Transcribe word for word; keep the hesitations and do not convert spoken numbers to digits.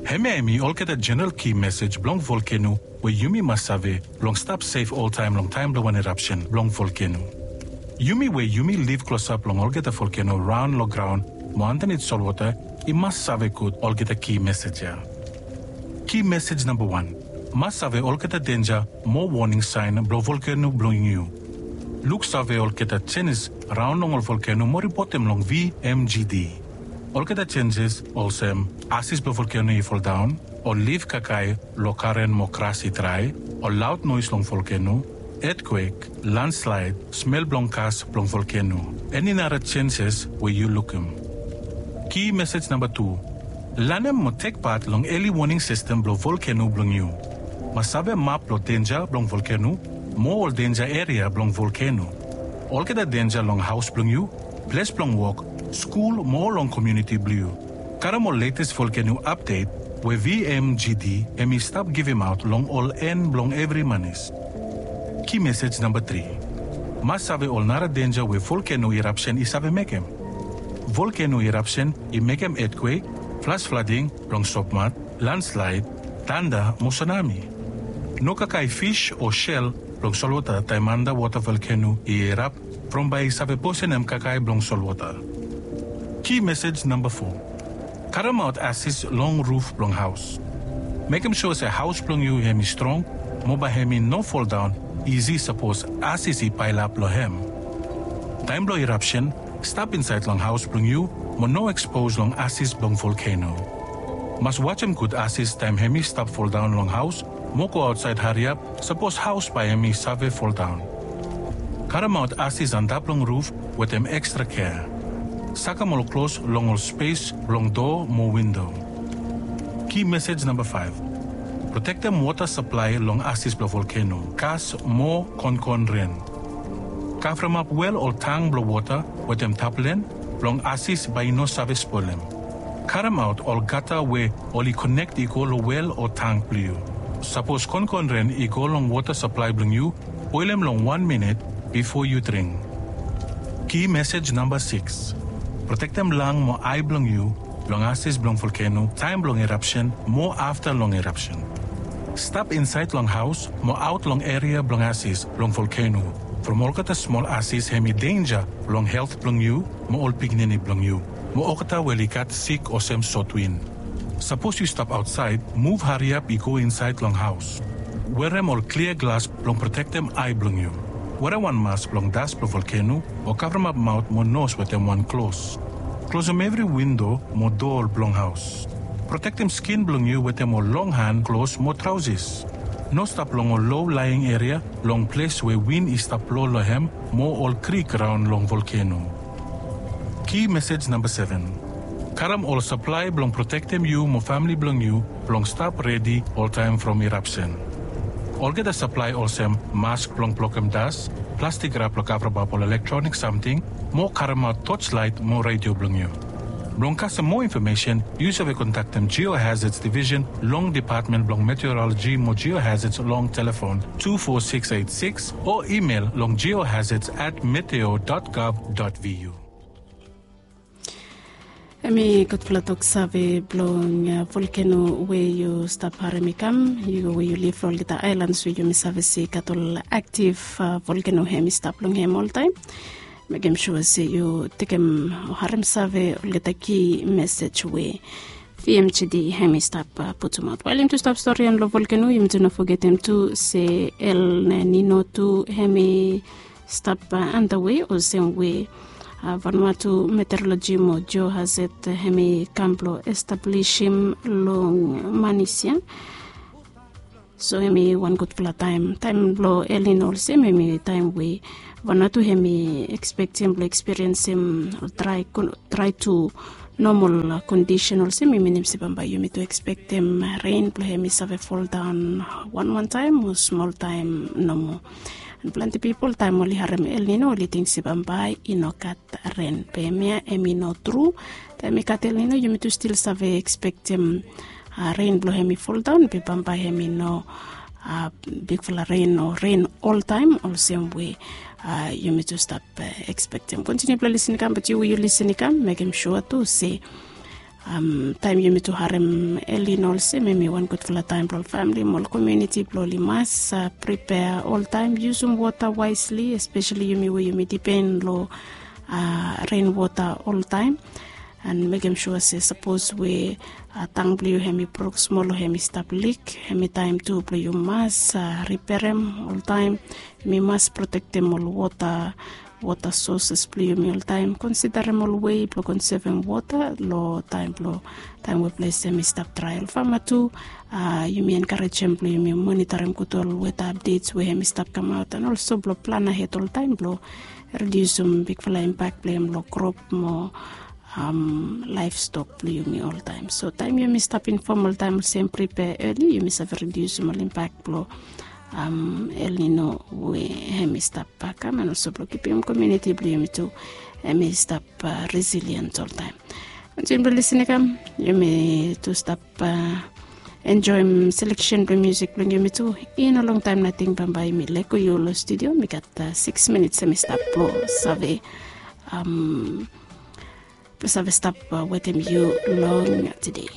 Hemia hemi olgeta jeneral ki mesej blong volkeno we yumi mas save blong stap sef oltaem long taem blong wan irapsen blong volkeno. Yumi we yumi liv klosap long olgeta volkeno raon long graon mo andanit solwota i mas save gud olgeta ki mesej ya. Ki mesej namba wan, mas save olgeta denja mo woning saen blong volkeno blong yu. Luksave olgeta jenis raon long ol volkeno mo ripotem long V M G D. Olgeta jenjes olsem asis blong volkeno i foldaon, ol lif kakae long karen mo gras i drae, ol laod noes long volkeno, etkwek, landslaed, smel blong gas blong volkeno. Eni nara jenjes we yu lukim. Ki mesej namba tu, lanem mo tek pat long eli woning sistem blong volkeno blong yu. Mas save map blong denja blong volkeno mo ol denja eria blong volkeno. Olgeta denja long haos blong yu, ples blong wok, skul mo long komuniti blong yu. Karem ol letes volkeno apdet we V M G D hemi stap givimaot long ol en blong evri manis. Ki mesej namba tri, mas save ol nara denja we volkeno irapsen i save mekem. Volkeno irapsen i mekem etkwek, flas flading blong sopmat, landslaed, tanda mo sunami. No kakae fis o sel blong solwota taem andawota volkeno i irap from bae i save posenem kakae blong solwota. Ki mesej namba fo, karemaot asis long ruf blong haos. Mekem sua se haos blong yu hemi strong mo bae hemi no foldaon isi sapos asis i paelap long hem. Taem blong irapsen, stap insaed long haos blong yu mo no ekspos long asis blong volkeno. Mas wajem gud asis taem hemi stap foldaon long haos mo go aotsaed hariap sapos haos bae hemi save foldaon. Karemaot asis antap long ruf wetem ekstra kea. Sakem ol klos long ol spes blong doa mo windo. Ki mesej namba faef, protektem wota saplae long asis blong volkeno, gas mo konkon ren. Kavremap wel ol tang blong wota wetem taplen blong asis bae i no save spolem. Karemaot ol gata we oli konek i go long wel o tang blong yu. Sapos konkon ren i go long wota saplae blong yu, boelem long wan minit bifo yu dring. Ki mesej namba sikis, protektem lang mo ae blong yu long asis blong volkeno taem blong irapsen mo afta long irapsen. Stap insaed long haos mo aot long eria blong asis blong volkeno, from olgeta smol asis hemi denja long helt blong yu mo ol pikinini blong yu mo olgeta we oli gat sik olsem sotwin. Sapos yu stap aotsaed, muv hariap i go insaed long haos. Werem ol klia glas blong protektem ae blong yu. Werem wan mas blong das blong volkeno o kavremap maot mo nos wetem wan klos. Klosem evri windo mo doa blong haos. Protektem skin blong yu wetem ol long han klos mo traosis. No stap long ol low laeng eria long ples we win i stap blo long hem mo ol krik raon long volkeno. Ki mesej namba seven. Karem ol saplae blong protektem yu mo famle blong yu blong stap redi oltaem from irapsen. Olgeta saplae olsem mask blong blokem das, plastik rap blong kavremap ol elektronik samting, mo karemaot toslaet mo redio blong yu. Blong kasem moa infomesen, yu save kontaktem Geohazards Division long Depatmen blong Meteoroloji mo Geohazards long telefon tu fo sikis eit sikis o imel long geohazards at meteo dot gov dot vu. Hemi gudfala toksave blong volkeno we yu stap harem i kam, yu we yu liv long olgeta aelans we yumi save se i gat ol aktiv volkeno hemi stap long hem oltaem. Mekem sua se yu tekem o harem save olgeta ki mesej we V M G D hemi stap putumaot. Wael yumi tu stap stori long volkeno, yumi tu no fogetem tu se El Nino tu hemi stap andawe olsem we Vanuatu Meteoroloji mo Geohazard hemi kam blo establisim long manis ya. So hemi wan gudfala taem, taem blo El Nino olsem hemi taem we Vanuatu hemi ekspektem blo ekspiriensim drae tu nomol kondisen olsem i minim se bambae yumi tu ekspektem ren blo hemi save foldaon wanwan taem o smol taem nomo. An plante pipol taem oli harem El Nino oli ting se bambae i no gat ren, be hemia hemi no tru. Taem i gat El Nino yumi tu stil save ekspektem ren blo hemi foldaon be bambae hemi no bigfala ren o ren oltaem olsem we yumi tu stap ekspektem. Kontiniu blo lisin i kam, bat yu we yu lisin i kam mekem sua tu se Taem yumi tu harem El Nino olsem, hemi wan gudfala taem blong ol famili mo ol komuniti blong oli mas pripea oltaem, yusum wota waesli, espeseli yumi we yumi dipen long ren wota oltaem. And mekem sua se sapos we tang blong yu hemi bruk smol o hemi stap lik, hemi taem tu blong yu mas riperem oltaem. Yumi mas protektem ol wota wota soses blong yumi oltaem, konsiderem ol wei blong konsevem wota long taem blong taem we ples hemi stap drae. Ol fama tu, yumi enkarejem blong yumi monitorem gud ol weta apdets we hemi stap kamaot, and olso blong plan ahed oltaem blong ridiusim bigfala impak blong hem long krop mo laefstok blong yumi oltaem. So taem yumi stap infom oltaem olsem, pripea eli, yumi save ridiusim ol impak blong El Nino we hemi stap kam, and olso blong kipim komuniti blong yumi tu hemi stap resilient oltaem. Ontin blong lisin i kam, yumi tu stap enjoem seleksen blong musik blong yumi tu. I no longtaem nating bambae mi lego yu long studio. Mi gat sikis minits hemi stap blong save blong save stap wetem yu long tede.